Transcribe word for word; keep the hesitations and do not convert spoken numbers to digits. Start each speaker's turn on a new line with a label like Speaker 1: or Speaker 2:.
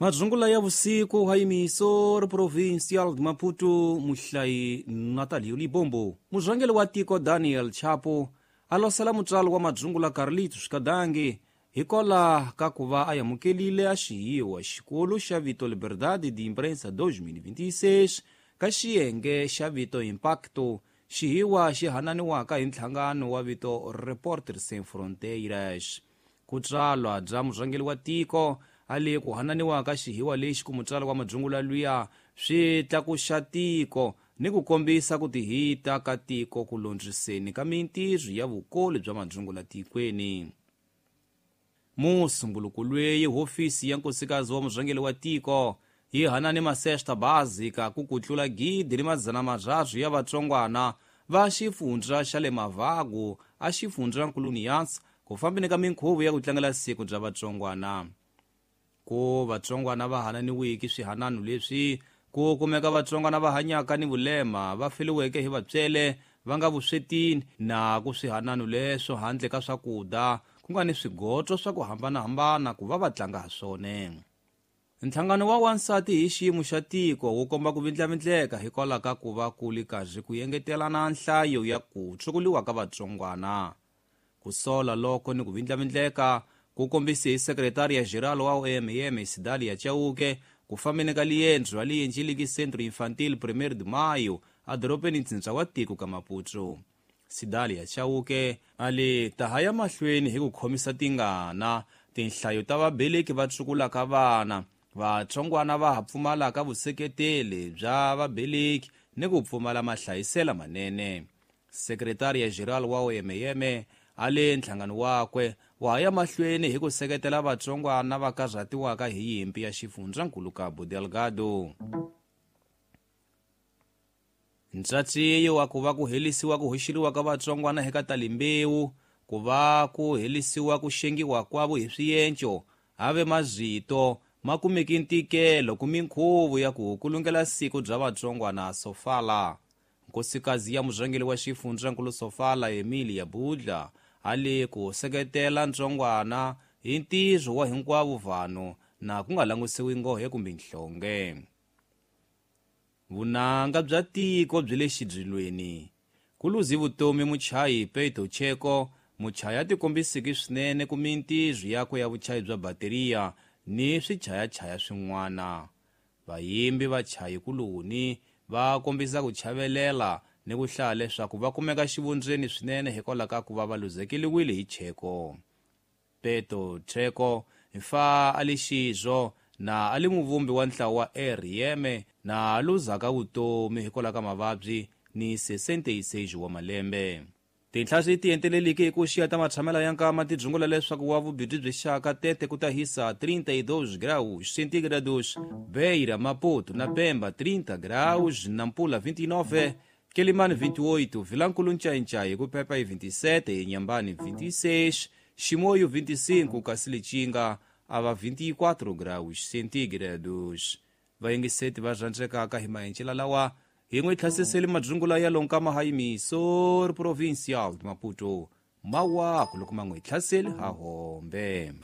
Speaker 1: Madzungula ya vusiku hayimiso ri Provincial de Maputo muhlayi Natalio Libombo. Murhangeri wa tiko Daniel Chapo a losela mutswalo wa madzungula Carlitos Kadangi hikola ka ku va a amukelile a xihiwa xikolo xa vito Liberdade de Imprensa dois mil e vinte e seis ka xiyenge xa vito Impacto, xihiwa xi hananiwaka hi nhlangano wa vito Reporters Sem Fronteiras. Ku tswalwa bya murhangeri wa tiko a le ku hananiwaka xihiwa lexi ku mutswalo wa madzungula luya swi tlakuxa tiko ni ku kombisa ku tihita ka tiko ku londziseni ka mintirho ya vukoli bya madzungula tikweni. Musumbuluko lweyi hofisi ya nkosikazi wa murhangeri wa tiko yi hanane masesta básica ku kutlula gidi ni madzana marharhu ya vatsongwana va xifundza xa le Mavagu a xifundza Nkuluniyansa ku fambeni ka minkhuvo ya ku tlangela siku bya vatsongwana. Ku vatsongwana va hananiwiki swihanano leswi ku kumeka vatsongwana va hanyaka ni vulema va feliweke hi vatswele va nga vuswetini na ku swihanano leswo handle ka swakudya ku nga ni swigotso swa ku hambanahambana ku va va tlanga ha swona. Nhlangano wa wansati hi xiyimo xa tiko wu komba ku vindlavindleka hikwalaho ka ku va ku li karhi ku engetelana nhlayo ya ku tshukuliwa ka vatsongwana. Ku sola loko ni ku vindlavindleka ku kombise hi sekretariya geral wa O M M Sidalia Chauke ku fambeni ka liendzo ra liendziliki Centro Infantil Primeiro de Maio a dorobeni ntsindza wa tiko ka Maputo. Sidalia Chauke a li taha ya mahlweni hi ku khomisa tingana tinhlayo ta vabeleki va tsukulaka vana vatsongwana va ha pfumalaka vuseketeli bya vabeleki ni ku pfumala mahlayisela manene. Sekretariya geral wa O M M a le nhlangano wakwe wa ya mahlweni hi ku seketela vatsongwana va karhatiwaka hi yimpi ya xifundzankulu Cabo Delgado. Ntshatsiyo wa ku va ku helisiwa ku hoxeliwa ka vatsongwana eka talimbewu ku va ku helisiwa ku xengiwa kwavo hi swienco ave mazito ma kumeki ntikelo ku minkhuvo ya ku kulungela siku bya vatsongwana Sofala. Nkosikazi ya murhangeri wa xifundzankulu Sofala Emilia Budla a le ku seketela ntsongwana hi ntirho wa hinkwavo vanhu na ku nga langusiwi nghohe kumbe nhlonge. Vunanga bya tiko byi le xidzilweni. Ku luzi vutomi muchayi Peto Cheko, muchayi a tikombisiki swinene ku mintirho yakwe ya vuchayi bya bateriya ni swichayachaya swin'wana. Vayimbi vachayi kuloni va kombisa ku chavelela ni ku hlaya leswaku va kumeka xivundzeni swinene hikwalaho ka ku va va luzekeliwile hi Cheko. Peto Cheko fa a li xizwo na a li muvumbi wa ntlawa wa R M na a luzaka vutomi hikwalaho ka mavabyi ni sessenta e seis wa malembe. Tinhla swi ti enteleliki hi ku xiya ta matshamela ya nkama ti dzungula leswaku wa vubirhi byi xaka tete ku ta hisa trinta e dois graus centígrados, Beira, Maputo na Pemba trinta graus, Nampula vinte e nove, Quelimane vinte e oito, Vilankulo Nchainchai ku Pepa hi vinte e sete, Inhambane vinte e seis, Chimoio vinte e cinco, Kasilichinga ava vinte e quatro graus centígrados. Vayingiseti va rhandzekaka hi mahencela lawa hi n'wi tlhasiseli madzungula ya lonkama hayimiso ri Provincial de Maputo mawaku loko ma n'wi tlhaseli ha hombe.